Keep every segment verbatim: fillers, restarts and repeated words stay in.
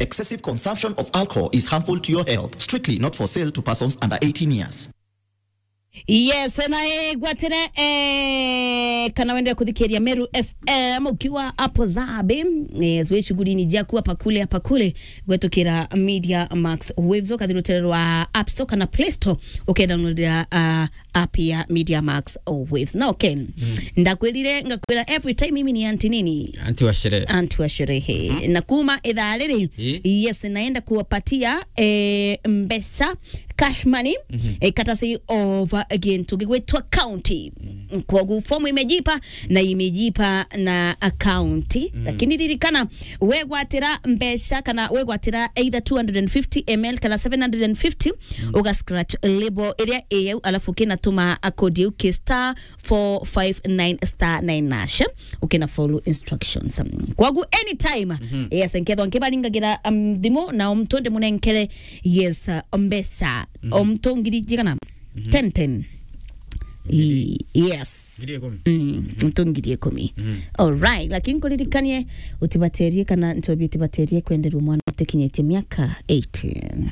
Excessive consumption of alcohol is harmful to your health. Strictly not for sale to persons under eighteen years. Yes, na, eh, gwatire, eh, kana wende kuthikiria Meru F M ukiwa hapo Zabe, eh, zwe shughulini jaku hapa kule, hapa kule, gwetukira Media Max Waves, ukathi rutere rwa App Store kana Play Store, ukedownloadira, ah, app ya Media Max Waves. Na okay, ndakwirire, ngakwira every time mimi ni anti nini? Anti wa sherehe. Anti wa sherehe. Na kuma ithaa riri, yes, naenda kuwapatia, eh, mbeca, cash money, eh, courtesy of, uh, gintu gigwitwa county. Kwogu fomu imejipa na imejipa na county. Lakini ririkana, wegwatira mbeca kana wegwatira either two hundred and fifty M L kana seven hundred and fifty, uga scratch label iria iyeu, alafu ukinatuma a code yeu ki star four five nine star nine hash, ukina follow instructions. Kwogu anytime, yes, nkethwa nkibaringagira, um, thimu na omtu ndimunenkere, yes, uh, mbeca. Omtu ngiri jigana? Ten ten. I-, yes. Ngiri ikumi. Mm, omtu ngiri ikumi. Alright, lakini nkuririkanie, utibaterie kana nchobi utibaterie kwenderwa mwana utikinyitie miaka eighteen.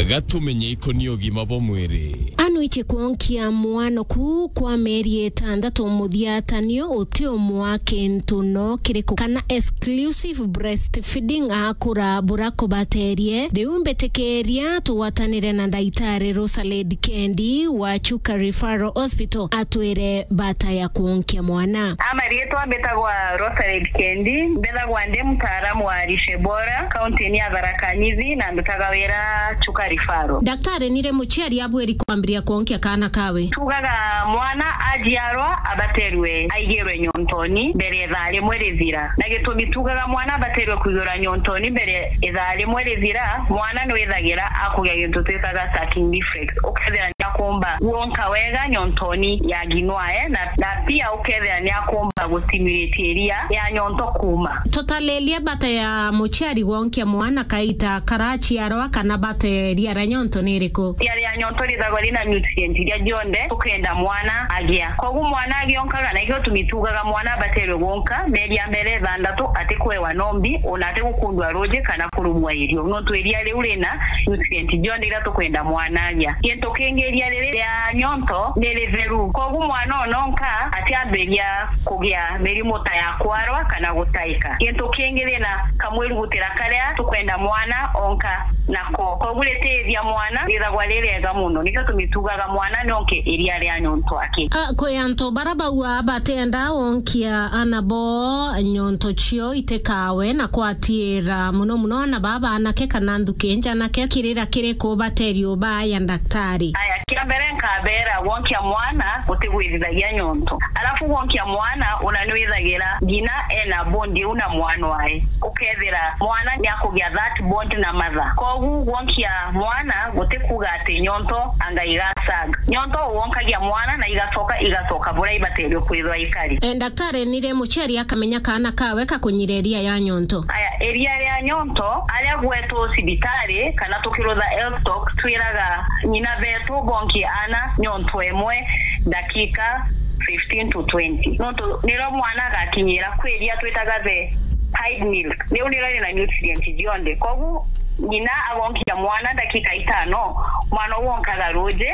Gatumenye ikoni ugima bwa mwiri. Anwiche kwonkia mwana ku kwa mieri itandatu muthia, tanio uti umwa kintu no kiriku kana exclusive breastfeeding akura bura kubaterie. Riu mbitikiria tugwatanire na ndaitari Rosaled Kendi wa Chuka Referral Hospital atwire bata ya kwonkia mwana. Ama riitwa mbitagwa Rosaled Kendi, mbithagwa ndi mtaalamu wa lishe bora, kaunti-ini ya Tharaka Nithi, na ndutaga wira Chuka Referral. Daktari, nire muciari abwiri kwambiria kwonkia kaana kawe? Tugaga mwana ajiarwa abaterwe aigirwe nyontoni mbere ithaa rimwe rithira. Na gitumi tugaga mwana abaterwe kwigirwa nyontoni mbere ithaa rimwe rithira, mwana nwithagira akugia gintu twitaga sucking reflex. Ukethira ni akumba gwonka wega nyontoni ya nginwae, na, na pia ukethira ni akumba gustimulate iria ya nyonto kuuma. Tutaririe bata ya muciari gwonkia mwana kaita karaciarwa kana bata ya iria ria nyonto ni iriku? Iria ria nyonto rithagwa rina nutrient iria jonthe tukenda mwana agia. Koguo mwana agionkaga, na ikio tumi tugaga mwana abaterwe gwonka mieri ya mbere ithantatu atikwewa nombi, ona atigukundwa ruji kana kurumwa irio, nontu iria riu rina nutrient jonthe iria tukwenda mwana agia. Gintu kingi, iria riri ria nyonto ni ritheru, koguo mwana ononka atiambiria kugia mirimu ta ya kwarwa kana gutaika. Gintu kingi, rina kamwirugutira karia tukwenda mwana onka nako, koguo ritithia mwana rithagwa ririega muno, nikio tumi tugaga mwana nonke iria ria nyonto aki. A, kwi antu bara bauga batenda wonkia ana bo nyonto cio itikawe na kwatiira muno muno ana baba anake kana nthuki njanake, kirira kiriku baterio baya daktari? Aya, kia mbere nkabera, gwonkia mwana gutigwirithagia nyonto. Alafu gwonkia mwana una nwithagira ngina ena bond iu na mwana wae. Ukethira mwana niakugia that bond na mother. Koguo gwonkia mwana gutikuga ati nyonto anga igasag. Nyonto wonkagia mwana na igacoka, igacoka buria ibaterio kwithwa ikari. E, daktari, nire muciari akamenya kaana kawe kakunyira iria ya nyonto? Aya, iria ria nyonto, aria gwetu cibitari kana tukirutha health talk, twiraga ng'ina betu bonkie ana nyonto imwe ndakika fifteen to twenty. Nontu nirio mwana agakinyira kwi iria twitaga the pied milk. Riu nirio rina nutrient jonthe. Koguo ng'ina agonkia mwana ndakika itano, mwana uu onkaga ruji,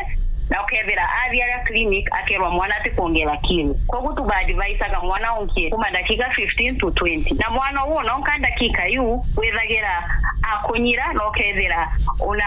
na ukethira athia aria clinic akerwa mwana atikwongera kilo. Koguo tuba advisaga mwana onkie kuma ndakika fifteen to twenty. Na mwana uu ononka ndakika iu, withagira akunyira, na ukethira una